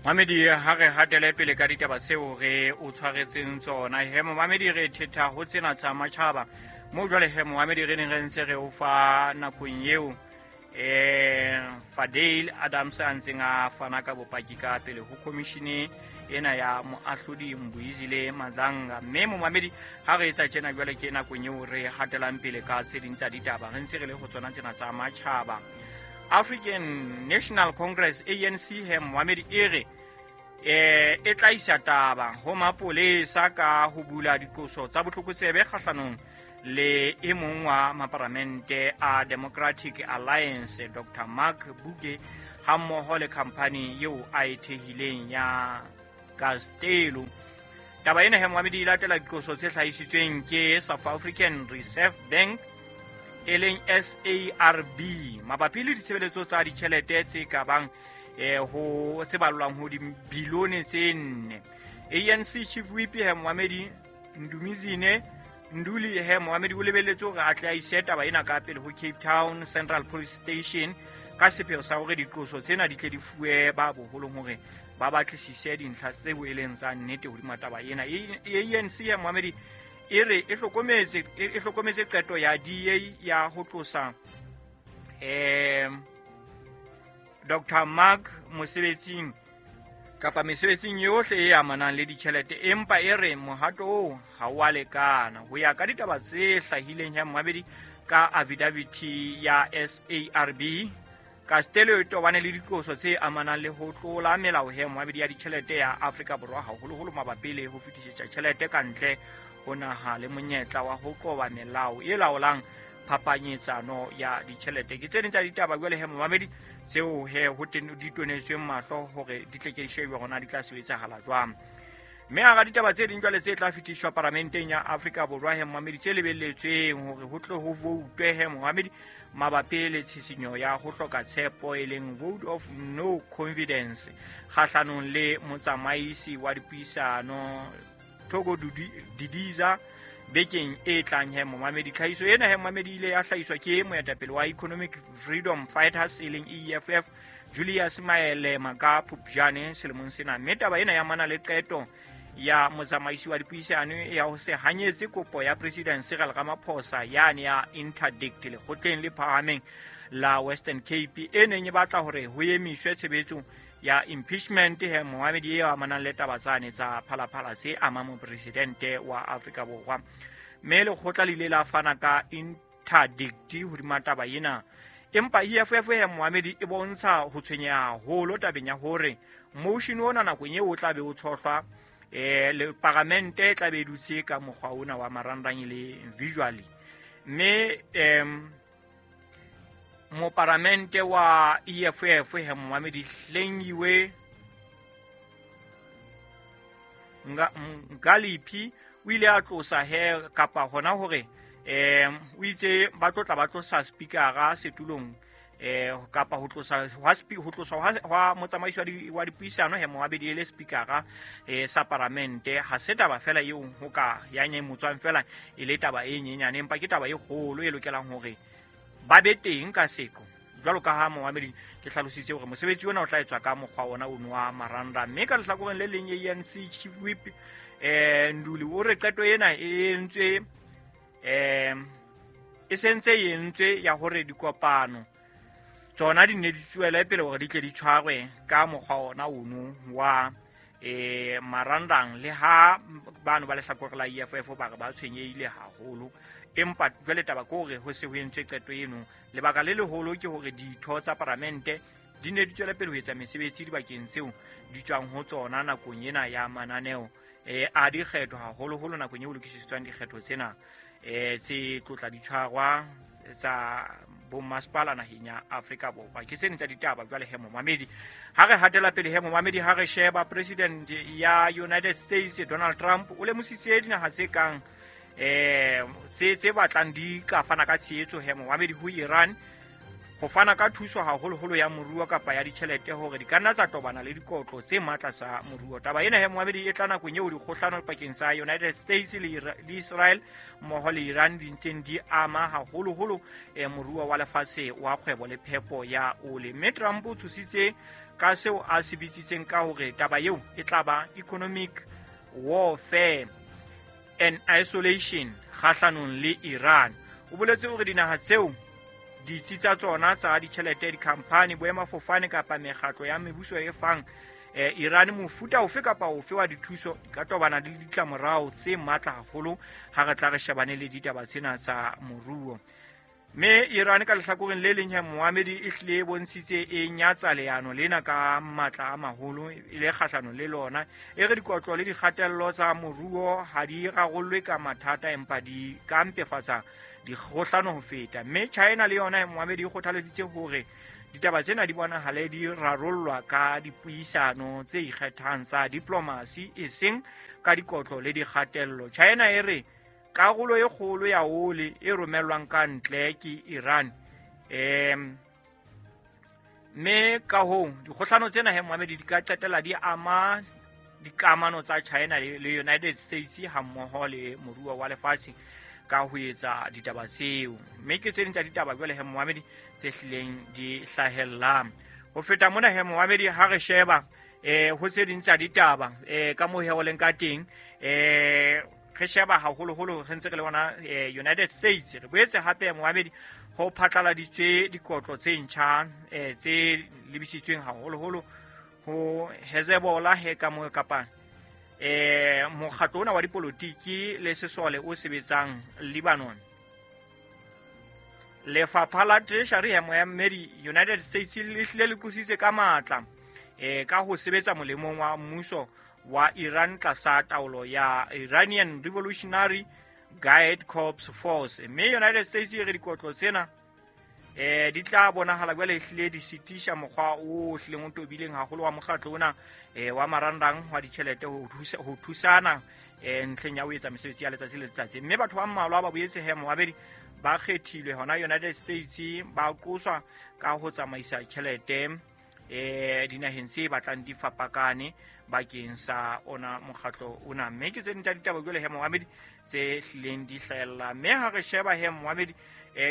Mamedi, ha re hatele pele ka ditaba tseo re o tshwaretseng tsona. He momamedi, re thetha ho tsena tsa matjhaba moo jwale. He momamedi, re neng re ntse re o fa nakong eo Fadale Adams a ntseng a fana ka bopaki ka pele ho commission ena ya moahlodi Mbuizile Madlanga. Mme momamedi, ha re etsa tjena jwale, ke nakong eo re hatelang pele ka tse ding tsa ditaba, re ntse re le ho tsona tsena tsa matjhaba. African National Congress, ANC, he momamedi, e re e tla isa taba ho mapolesa ka ho bula diqoso tsa botlokotsebe kgahlanong le e mong wa maparamente a Democratic Alliance, Dr Mark Buke, hammoho le khamphani eo a e thehileng ya Castelo. Taba ena, he moamedi, e latela diqoso tse hlahisitsweng ke South African Reserve Bank, e leng SARB, mabapi le ditshebeletso tsa ditjhelete tse ka bang ho tse balwang ho dibilione tse 4. ANC chief whip, he moamedi, Ndumizine Nduli, he moamedi, o lebelletse hore a tle a ise taba ena ka pele ho Cape Town Central Police Station ka sepheo sa hore diqoso tsena di tle di fuwe ba boholong hore ba batlisise dintlha tse boeleng tsa nnete hodima taba ena. ANC ya moamedi e re e hlokometse qeto ya DA ya ho tlosa Dr Mark mosebetsing kapa mesebetsing yohle e amanang le ditjhelete, empa e re mohato oo ha o a lekana. Ho ya ka ditaba tse hlahileng ya mmabedi ka affidavit ya SARB, Castello e tobane le diqoso tse amanang le ho tlola melao, he moabedi, ya ditjhelete ya Afrika Borwa, haholoholo mabapi le ho fetisetsa tjhelete ka ntle ho naha le monyetla wa ho qoba melao e laolang phapanyetsano ya ditjhelete. Ke tse ding tsa ditaba jwale, he momamedi, tseo he ho di tonetsweng mahlo hore di tle ke di shebe hona di tla sebetsahala jwang. Mme hara ditaba tse ding jwale tse tla fetiswa paramenteng ya Afrika Borwa, he momamedi, tse lebelletsweng hore ho tle ho voutwe, he momamedi, mabapi le tshisinyo ya ho hloka tshepo, e leng vote of no confidence, kgahlanong le motsamaisi wa dipuisano Thoko Didiza bekeng e tlang. He momamedi, tlhahiso ena, he momamedi, ile ya hlahiswa ke moetapele wa Economic Freedom Fighters, e leng EFF, Julius Malema, ka Phupjane selemong sena. Mme taba ena ya mana le qeto ya motsamaisi wa dipuisano ya ho se hanyetse kopo ya President Cyril Ramaphosa yane ya interdict lekgotleng le phahameng la Western Cape, e neng e batla hore ho emiswe tshebetso ya impeachment, he moamedi, e amanang le taba tsane tsa Phalaphala tse amang mopresidente wa Afrika Borwa. Mme lekgotla le ile la fana ka interdict hodima taba ena, empa EFF, he moamedi, e bontsha ho tshwenyeha haholo tabeng ya hore motion ona nakong eo o tla be o tshohlwa, le paramente e tla be e dutse ka mokgwa ona wa marangrang, e le visually. Mme moparamente wa EFF, he moamedi, Hlengiwe Ngaliphi, o ile a tlosa he kapa hona hore o itse ba tlo tla ba tlosa speakera setulong, kapa ho tlosa hwa motsamaisi wa dipuisano, he moabedi, e le speakera sa paramente, ha se taba fela eo ho ka ya nyemotswang fela e le taba e nyenyane, empa ke taba e kgolo e lokelang hore ba be teng ka seqo. Jwalo ka ha moamedi ke hlalositse hore mosebetsi ona o tla etswa ka mokgwa ona ono wa marangrang. Mme ka lehlakoreng le leng, ANC chief whip Nduli o re qeto ena e entswe, e sentse e entswe ya hore dikopano tsona di ne di tswele pele hore di tle di tshwarwe ka mokgwa ona ono wa marangrang, le ha bano ba lehlakore la EFF ba re ba tshwenyehile haholo. Empa jwale taba ke hore ho se ho entswe qeto eno. Lebaka le leholo ke hore ditho tsa paramente di ne di tswele pele ho etsa mesebetsi dibakeng tseo di tswang ho tsona nakong ena ya mananeo a dikgetho, haholoholo nakong eo lokisetswang dikgetho tsena tse tlotla di tshwarwa tsa bommasepala naheng ya Afrika Borwa. Ke sene tsa ditaba jwale, he momamedi, ha re hatela pele. He momamedi, ha re sheba president ya United States Donald Trump, o lemositse dinaha tse kang tse batlang di ka fana ka tshehetso, he momamedi, ho Iran ho fana ka thuso haholoholo ya moruo kapa ya ditjhelete hore di ka nna tsa tobana le dikotlo tse matla tsa moruo. Taba ena he moamedi e tla nakong eo dikgohlano pakeng tsa United States le Israel mmoho le Iran di ntseng di ama haholoholo moruo wa lefatshe wa kgwebo le phepo ya ole. Mme Trump o tshositse ka seo a se bitsitseng ka hore taba eo e tla ba economic warfare and isolation kgahlanong le Iran. O boletse hore dinaha tseo ditsi tsa tsona tsa ditjhelete, dikhamphani, boemafofane kapa mekgatlo ya mebuso e fang Iran mofuta ofe kapa ofe wa dithuso di ka tobana le ditlamorao tse matla haholo ha re tla re shebane le ditaba tsena tsa moruo. Mme Iran ka lehlakoreng le leng ya moamedi e hlile e bontshitse e nyatsa leano lena ka matla a maholo e le kgahlano le lona, e re dikotlo le dikgatello tsa moruo ha di rarollwe ka mathata empa di ka mpefatsa dikgohlano ho feta. Mme China le yona moamedi e kgothaleditse hore ditaba tsena di bonahale di rarollwa ka dipuisano tse ikgethang tsa diplomasi e seng ka dikotlo le dikgatello. China e re karolo e kgolo ya ole e romellwang ka ntle ke Iran, mme ka hoo dikgohlano tsena he moamedi di ka qetella di ama dikamano tsa China le United States hammoho le moruo wa lefatshe ka ho etsa ditaba tseo. Mme ke tse ding tsa ditaba jwale he moamedi tse hlileng di hlahellang. Ho feta mona he moamedi ha re sheba ho tse ding tsa ditaba ka moo he o leng ka teng, re sheba haholoholo re ntse re le bona United States. Re boetse hape moamedi ho phatlaladitswe dikotlo tse ntjha tse lebisitsweng haholoholo ho Hezbollah he ka mo kapa mokgatlo ona wa dipolotiki le sesole o sebetsang Lebanon. Lefapha la Treasury ya moamedi United States le hlile le qositse ka matla ka ho sebetsa molemong wa mmuso wa Iran tlasa taolo ya Iranian Revolutionary Guard Corps Force. Mme United States e re dikotlo tsena di tla bonahala jwale hlile di sitisha mokgwa o hlileng o tobileng haholo wa mokgatlo ona wa marangrang wa ditjhelete ho thusana ntlheng ya ho etsa mesebetsi ya letsatsi le letsatsi. Mme batho ba mmalwa ba boetse he moabedi ba kgethilwe hona United States ba qoswa ka ho tsamaisa tjhelete dinaheng tse batlang di fapakane bakeng sa ona mokgatlo ona. Mme ke tse ding tsa ditaba jwale he moamedi tse hlileng di hlahella. Mme ha re sheba he moamedi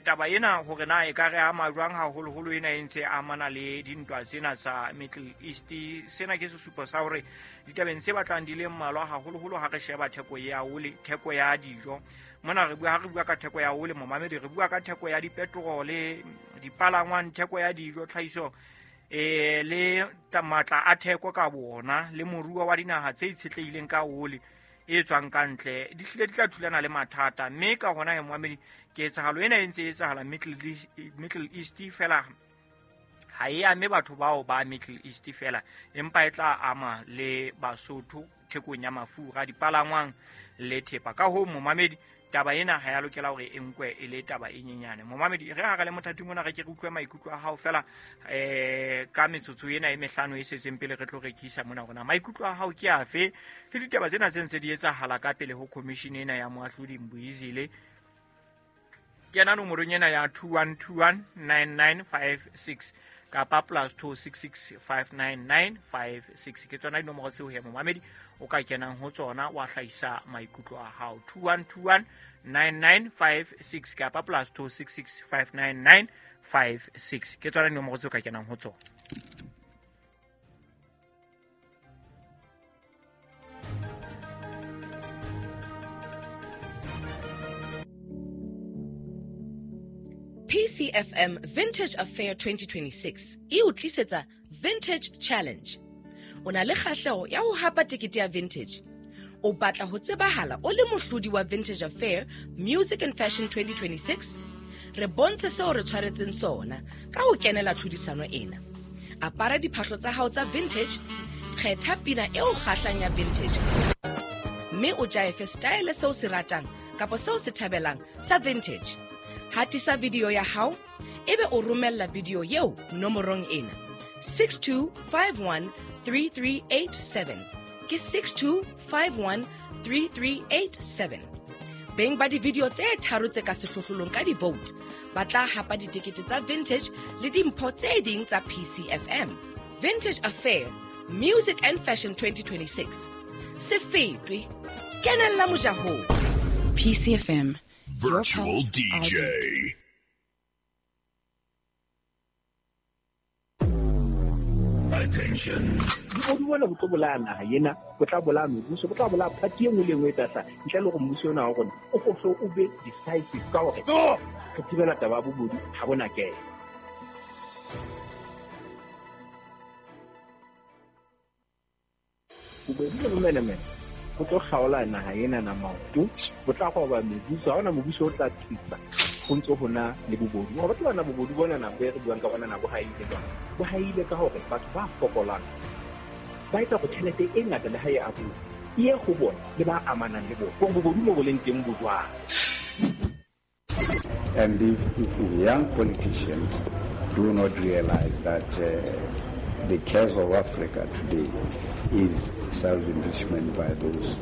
taba ena hore na e ka re ama jwang haholoholo ena e ntse amana le dintwa tsena tsa Middle East, sena ke sesupo sa hore ditabeng tse batlang di le mmalwa haholoholo ha re sheba theko ya ole, theko ya dijo. Mona re bua, ha re bua ka theko ya ole momamedi, re bua ka theko ya dipetrole, dipalangwang, theko ya dijo, tlhahiso le matla a theko ka bona le moruo wa dinaha tse itshetlehileng ka ole e tswang ka ntle di hlile di tla thulana le mathata. Mme ka hona he moamedi ketsahalo ena e ntse e etsahala Middle East fela ha e ame batho bao ba Middle East fela, empa e tla ama le Basotho thekong ya mafura, dipalangwang le thepa. Ka hoo momamedi taba ena ha ya lokela hore e nkwe e le taba e nyenyane. Momamedi re ha re le mothating ona re ke re utlwe maikutlo a hao fela ka metsotso ena e mehlano e setseng pele re tlo rekisa mona rona. Maikutlo a hao ke afe le ditaba tsena tse ntse di etsahala ka pele ho commission ena ya moahlodi Mbuyizile? Kena nomorong ena ya 21219956 kapa +266 59956. Ke tsona dinomoro tseo he momamedi o ka kenang ho tsona wa hlahisa maikutlo a hao. 21219956 kapa +266 59956. Ke tsona dinomoro tseo ka kenang ho tsona. PCFM Vintage Affair 2026 e o tlisetsa Vintage Challenge. O na le kgahleho ya ho hapa tekete ya Vintage. O batla ho tsebahala o le mohlodi wa Vintage Affair Music and Fashion 2026? Re bontshe seo re tshwaretseng sona ka ho kenela tlhodisano ena. Apara diphahlo tsa hao tsa vintage, kgetha pina eo kgahlang ya vintage, mme o jaefe style seo se ratang kapa seo se thabelang sa vintage. Hatisa video ya hao ebe o romella video eo nomorong ena 62513387. Ke 62513387. Beng ba di-video tse tharo tse ka sehlohlolong ka di-vote ba tla hapa ditekete tsa Vintage le dimpho tse ding tsa PCFM. Vintage Affair Music and Fashion 2026. Se fetwe. Kenella mojahong. PCFM. Virtual Your pulse, our DJ. beat. Attention. Bobodu bona bo tlo bolaya naha ena, bo tla bolaya mebuso, bo tla bolaya party e nngwe le e nngwe e tla hlaha. Ntle le hore mmuso ona wa rona o ko hle o be decisive ka hore Stop! re thibela taba ya bobodu ha bona kena. Bobodu le bomenemene bo tlo kgaola naha ena na maoto, bo tla roba mebuso, ha hona mobuso o tla tsitsa ho ntso ho na le bobodu. Wa batla bona bobodu bona nako e re buang ka bona na bo haile jwang? Bo haile ka hore batho ba fokolang ba etsa hore tjhelete e ngata le ha e abuwa e ye ho bona le ba amanang le bona. Hore bobodu mo bo leng teng bo jwang. And if young politicians do not realize that the case of Africa today is self-enrichment by those